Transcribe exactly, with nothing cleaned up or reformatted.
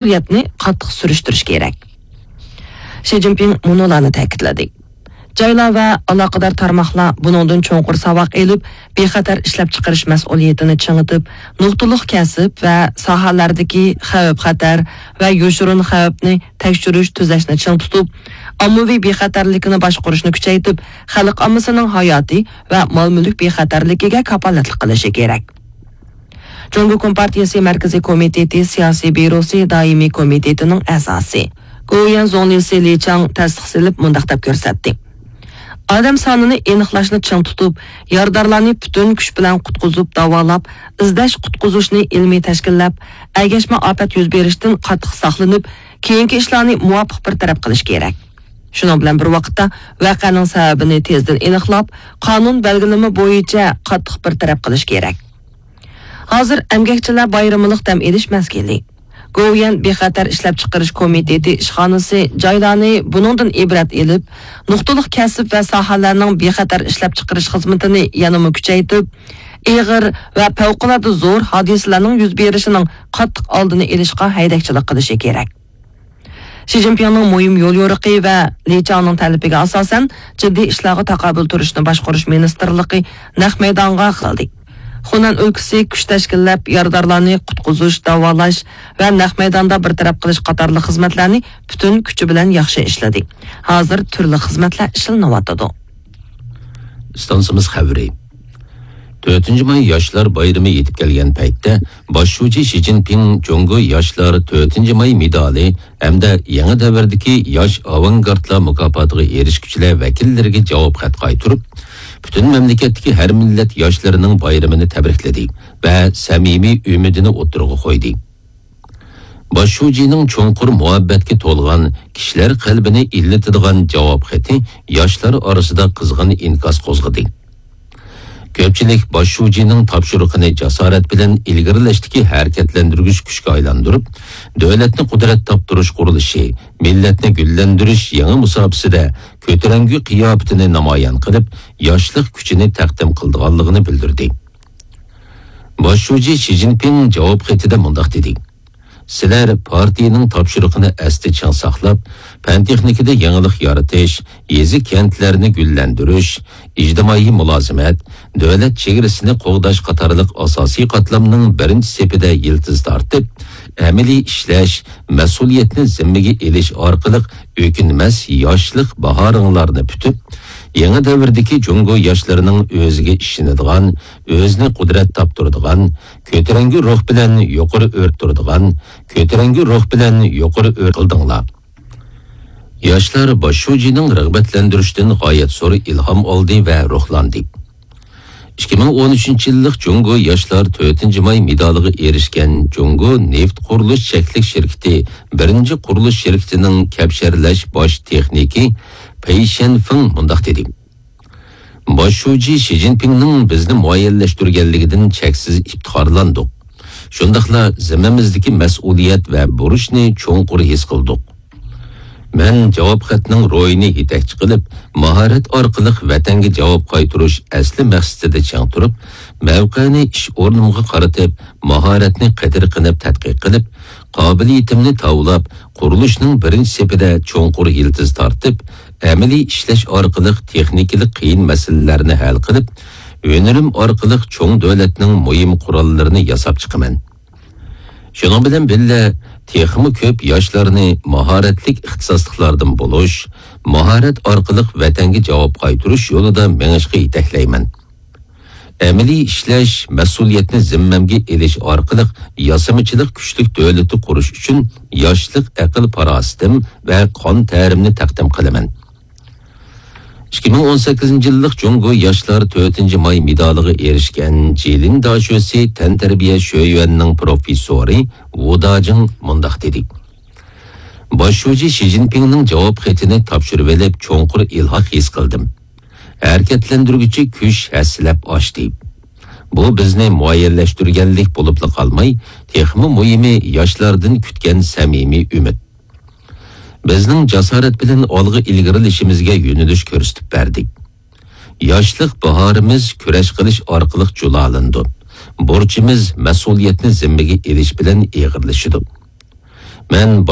مەسئۇلىيەتنى قاتتىق سۈرۈشتۈرۈش كېرەك. شى جىنپىڭ مۇنۇلارنى تەكىتلىدى: جايلار ۋە ئالاقىدار تارماقلار بۇنىڭدىن چوڭقۇر ساۋاق ئېلىپ، بىخەتەر ئىشلەپچىقىرىش مەسئۇلىيىتىنى چىڭىتىپ، نۇقتىلىق كەسىپ ۋە ساھەلەردىكى خەۋپ-خەتەر ۋە يوشۇرۇن خەۋپنى تەكشۈرۈش، تۈزەشنى چىڭ تۇتۇپ، ئاممىۋى بىخەتەرلىكنى باشقۇرۇشنى كۈچەيتىپ، خەلق ئاممىسىنىڭ ھاياتى ۋە مال-مۈلۈك بىخەتەرلىكىگە كاپالەتلىك قىلىشى كېرەك. جۇڭگو كومپارتىيىسى مەركىزىي كومىتېتى سىياسىي بيۇروسى دائىمىي كومىتېتىنىڭ ئەزاسى، گوۋۇيۈەن زۇڭلىسى لى چاڭ تەستىق سېلىپ مۇنداق دەپ كۆرسەتتى: ئادەم سانىنى ئېنىقلاشنى چىڭ تۇتۇپ، يارىدارلارنى پۈتۈن كۈچ بىلەن قۇتقۇزۇپ داۋالاپ، ئىزدەش قۇتقۇزۇشنى ئىلمىي تەشكىللەپ، ئەگەشمە ئاپەت يۈز بېرىشتىن قاتتىق ساقلىنىپ، كېيىنكى ئىشلارنى مۇۋاپىق بىر تەرەپ قىلىش كېرەك. شۇنىڭ بىلەن بىر ۋاقىتتا، ۋەقەنىڭ سەۋەبىنى تېزدىن ئېنىقلاپ، قانۇن بەلگىلىمە بويىچە قاتتىق بىر تەرەپ قىلىش كېرەك. ھازىر ئەمگەكچىلەر بايرىمىلىق دەم ئېلىش مەزگىلى. گوۋۇيۈەن بىخەتەر ئىشلەپچىقىرىش كومىتېتى ئىشخانىسى جايلارنى بۇنىڭدىن ئىبرەت ئېلىپ، نۇقتىلىق كەسىپ ۋە ساھەلەرنىڭ بىخەتەر ئىشلەپچىقىرىش خىزمىتىنى يەنىمۇ كۈچەيتىپ، ئېغىر ۋە پەۋقۇلئاددە زور ھادىسىلەرنىڭ يۈز بېرىشىنىڭ قاتتىق ئالدىنى ئېلىشقا ھەيدەكچىلىك قىلىشى كېرەك. شى جىنپىڭنىڭ مۇھىم يوليورۇقى ۋە لى چاڭنىڭ تەلىپىگە ئاساسەن، جىددىي ئىشلارغا تاقابىل تۇرۇشنى باشقۇرۇش مىنىستىرلىقى نەق مەيدانغا ئاقلىدى. خۇنەن ئۆلكىسى كۈچ تەشكىللەپ، يارىدارلارنى قۇتقۇزۇش، داۋالاش ۋە نەق مەيداندا بىر تەرەپ قىلىش قاتارلىق خىزمەتلەرنى پۈتۈن كۈچى بىلەن ياخشى ئىشلىدى. ھازىر تۈرلۈك خىزمەتلەر ئىشلىنىۋاتىدۇ. ئىستانسىمىز خەۋىرى. تۆتىنچى ماي ياشلار بايرىمى يېتىپ كەلگەن پەيتتە، باش شۇجى شى جىنپىڭ جۇڭگو ياشلار تۆتىنچى ماي مېدالى ھەمدە يېڭى دەۋردىكى ياش ئاۋانگارتلار مۇكاپاتىغا ئېرىشكۈچىلەر ۋەكىللىرىگە جاۋاب خەت قايتۇرۇپ، پۈتۈن مەملىكەتتىكى ھەر مىللەت ياشلىرىنىڭ بايرىمىنى تەبرىكلىدى ۋە سەمىمىي ئۈمىدىنى ئوتتۇرىغا قويدى. باش شۇجىنىڭ چوڭقۇر مۇھەببەتكە تولغان، كىشىلەر قەلبىنى ئىللىتىدىغان جاۋاب خېتى ياشلار ئارىسىدا قىزغىن ئىنكاس قوزغىدى. كۆپچىلىك باش شۇجىنىڭ تاپشۇرۇقىنى جاسارەت بىلەن ئىلگىرىلەشتىكى ھەرىكەتلەندۈرگۈچ كۈچكە ئايلاندۇرۇپ، دۆلەتنى قۇدرەت تاپتۇرۇش قۇرۇلۇشى، مىللەتنى گۈللەندۈرۈش يېڭى مۇساپىسىدە كۆتۈرەڭگۈ قىياپىتىنى نامايان قىلىپ، ياشلىق كۈچىنى تەقدىم قىلىدىغانلىقىنى بىلدۈردى. باش شۇجى شى جىنپىڭ جاۋاب خېتىدە مۇنداق دېدى: سىلەر پارتىيىنىڭ تاپشۇرۇقىنى ئەستە چىڭ ساقلاپ، پەن-تېخنىكىدا يېڭىلىق يارىتىش، يېزا-كەنتلەرنى گۈللەندۈرۈش، ئىجتىمائىي مۇلازىمەت، دۆلەت چېگرىسىنى قوغداش قاتارلىق ئاساسىي قاتلامنىڭ بىرىنچى سېپىدە يىلتىز تارتىپ، ئەمەلىي ئىشلەش، مەسئۇلىيەتنى زىممىگە ئېلىش ئارقىلىق ئۆكۈنمەس ياشلىق باھارىڭلارنى پۈتۈپ، يېڭى دەۋردىكى جۇڭگو ياشلىرىنىڭ ئۆزىگە ئىشىنىدىغان، ئۆزىنى قۇدرەت تاپتۇرىدىغان، كۆتۈرەڭگۈ روھ بىلەن يۇقىرى ئۆرە تۇرىدىغان، كۆتۈرەڭگۈ روھ بىلەن يۇقىرى ئۆرە قىلدىڭلار. ياشلار باش شۇجىنىڭ رىغبەتلەندۈرۈشىدىن غايەت زور ئىلھام ئالدى ۋە روھلاندى. ئىككى مىڭ ئون ئۈچىنچى يىللىق جۇڭگو ياشلار تۆتىنچى ماي مېدالىغا ئېرىشكەن جۇڭگو نېفىت قۇرۇلۇش چەكلىك شىركىتى بىرىنچى قۇرۇلۇش شىركىتىنىڭ كەپشەرلەش باش تېخنىكى پېي شيەنفېڭ مۇنداق دېدى: باش شۇجى شى جىنپىڭنىڭ بىزنى مۇئەييەنلەشتۈرگەنلىكىدىن چەكسىز ئىپتىخارلاندۇق. شۇنداقلا زىممىمىزدىكى مەسئۇلىيەت ۋە بۇرچنى چوڭقۇر ھېس قىلدۇق. مەن جاۋاب خەتنىڭ روھىنى يېتەكچى قىلىپ، ماھارەت ئارقىلىق ۋەتەنگە جاۋاب قايتۇرۇش ئەسلى مەقسىتىدە چىڭ تۇرۇپ، مەۋقەنى ئىش ئورنۇمغا قارىتىپ، ماھارەتنى قېتىرقىنىپ تەتقىق قىلىپ، قابىلىيىتىمنى تاۋلاپ، قۇرۇلۇشنىڭ بىرىنچى سېپىدە چوڭقۇر يىلتىز تارتىپ، ئەمەلىي ئىشلەش ئارقىلىق تېخنىكىلىق قىيىن مەسىلىلەرنى ھەل قىلىپ، ھۈنىرىم ئارقىلىق چوڭ دۆلەتنىڭ مۇھىم قوراللىرىنى ياساپ چىقىمەن. شۇنىڭ بىلەن بىللە، تېخىمۇ كۆپ ياشلارنى ماھارەتلىك ئىختىساسلىقلاردىن بولۇش، ماھارەت ئارقىلىق ۋەتەنگە جاۋاب قايتۇرۇش يولىدا مېڭىشقا يېتەكلەيمەن. ئەمەلىي ئىشلەش، مەسئۇلىيەتنى زىممەمگە ئېلىش ئارقىلىق ياسىمىچىلىق كۈچلۈك دۆلىتى قۇرۇش ئۈچۈن ياشلىق ئەقىل-پاراسىتىم ۋە قان تەرىمنى تەقدىم قىلىمەن. ئىككى مىڭ ئون سەككىزىنچى يىللىق جۇڭگو ياشلار تۆتىنچى ماي مېدالىغا ئېرىشكەن جىلىن داشۆسى تەنتەربىيە شۆيۈەننىڭ پروفېسسورى ۋۇ داجىڭ مۇنداق دېدى: باش شۇجى شى جىنپىڭنىڭ جاۋاب خېتىنى تاپشۇرۇۋېلىپ، چوڭقۇر ئىلھاق ھېس قىلدىم. ھەرىكەتلەندۈرگۈچى كۈچ ھەسسىلەپ ئاشتى. بۇ بىزنى مۇئەييەنلەشتۈرگەنلىك بولۇپلا قالماي، تېخىمۇ مۇھىمى ياشلاردىن كۈتكەن سەمىمىي ئۈمىد. بىزنىڭ جاسارەت بىلەن ئالغا ئىلگىرىلىشىمىزگە يۆنىلىش كۆرسىتىپ بەردى. ياشلىق باھارىمىز كۈرەش قىلىش ئارقىلىق جۇلالىنىدۇ. بۇرچىمىز مەسئۇلىيەتنى زىممىگە ئېلىش بىلەن ئېغىرلىشىدۇ. مەن